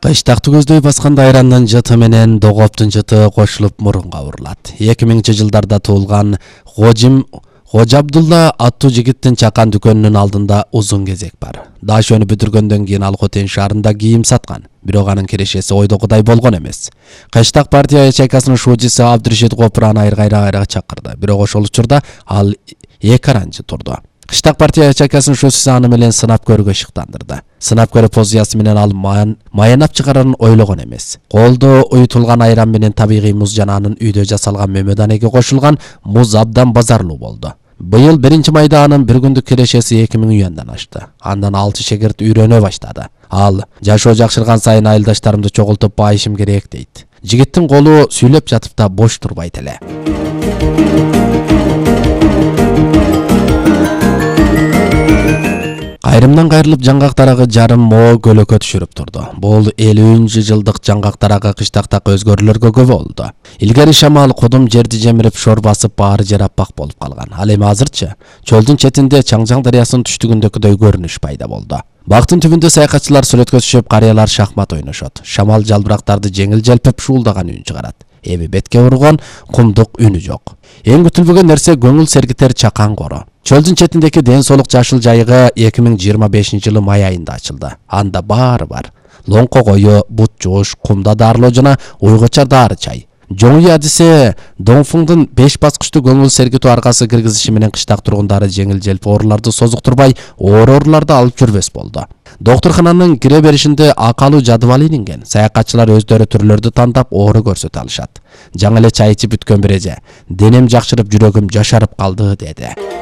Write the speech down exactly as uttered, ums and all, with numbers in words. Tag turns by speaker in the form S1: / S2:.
S1: Кыштакты көздөй баскан айрандын жыты менен догоптун жыты кошулуп мурунга урулат. эки миңинчи жылдарда туулган Гожим Гожа Абдулла аттуу жигиттин чакан дүкөнүнүн алдында узун кезек бар. Дашөнү бүтүргөндөн кийин ал Хотен шаарында кийим саткан. Бирок анын кирешеси ойдогудай болгон эмес. Кыштак партия ячейкасынын шуучусу Абдыршид Копураны айрга-айрга чакырды. Бирок ошол учурда ал эки аранчы турду. Кыштак партия ячейкасынын шуучусу аны менен сынап көрүүгө шыктандырды. Сынап көрүү позициясы менен ал маянап чыгарарын ойлогон эмес. Колдо уютулган айран менен табигый муз жана анын үйдө жасалган мөмөданеге кошулган муз абдан базарлуу болду. Быйыл биринчи майда анын бир күндүк кирешеси эки миң юандан ашты. Андан алты шегирт үйрөнө баштады. Ал жашоо жакшырган сайын айылдаштарымды чогултуп байышым керек дейт. Жигиттин колу сүйлөп жатып да бош турбайт эле. Айрымдан кайрылып жаңгак дарагы жарым мо көлөкө түшүрүп турду. Бул элүүнчү жылдык жаңгак дарагы кыштактагы өзгөрүүлөргө көп болду. Илгери шамал кудум жерди жемирип шор басып баары жер аппак болуп калган. Ал эми азырчы чөлдүн четинде Чаңжаң дарыясынын түштүгүндөгүдөй көрүнүш пайда болду. Бактын түбүндө саякатчылар сүрөткө түшүп, карыялар шахмат ойношот. Шамал жалбырактарды жеңил желпип шуулдаган үн чыгарат. Эми бетке урган кумдук үнү жок. Эң күтүлбөгөн нерсе көңүл сергитер чакан коро. Чөлдүн четиндеки ден соолук жашыл жайыгы эки миң жыйырма бешинчи жылы май айында ачылды. Анда баары бар. Лоңко кою, бут жууш, кумда дарылоо жана уйгуча дары чай. Жоңуй адисе Доңфуңдун беш баскычтуу көңүл сергитүү аргасы киргизиши менен кыштак тургундары жеңил желпи ооруларды созуктурбай, оор ооруларды алып жүрбөс болду. Доктуркананын кире беришинде акалуу жадыбал илинген. Саякатчылар өздөрү түрлөрдү тандап оору көрсөтө алышат. Жаңы эле чай ичип бүткөн бир эже: "Денем жакшырып, жүрөгүм жашарып калды" деди.